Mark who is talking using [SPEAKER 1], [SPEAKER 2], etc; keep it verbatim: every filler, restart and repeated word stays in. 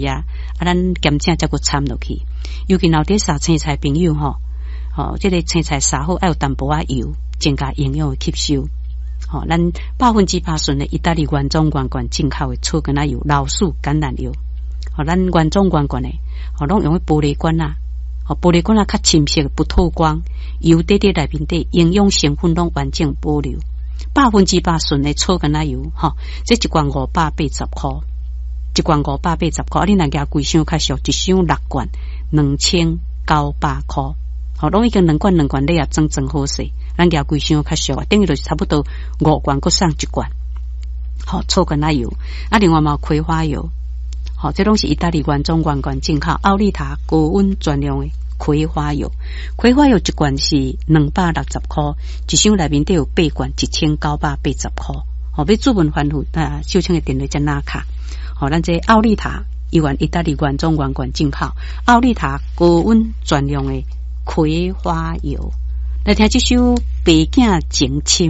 [SPEAKER 1] 啊，啊，咱兼正才閣摻落去。尤其若佇捎青菜朋友吼，吼，這个青菜捎好愛有淡薄仔油，增加營養的吸收。吼，咱百分之百純的意大利原裝原罐進口的草根仔油、老鼠橄欖油。吼，咱原裝原罐的，吼，攏用彼玻璃罐仔，吼，玻璃罐仔較深色，不透光，油底底內面底營養成分攏完整保留。百分之百純的草根仔油，吼，這一罐五百八十箍，一罐五百八十箍，啊，你若舉規箱較俗，一箱六罐，兩千九百箍，吼，攏已經兩罐兩罐禮盒裝裝好勢，咱舉規箱較俗啊，等於就是差不多五罐，閣送一罐，吼，草根仔油，啊，另外嘛有葵花油，吼，這攏是意大利原裝原罐進口，奧利塔高溫專用的葵花油，葵花油一罐是兩百六十箍，一箱內面底有八罐，一千九百八十箍。吼，欲主問翻覆啊，秀清的電話才拿卡。吼，咱這奧利塔猶原意大利原裝原罐進口，奧利塔高溫專用的葵花油。來聽這首《白囝情深》。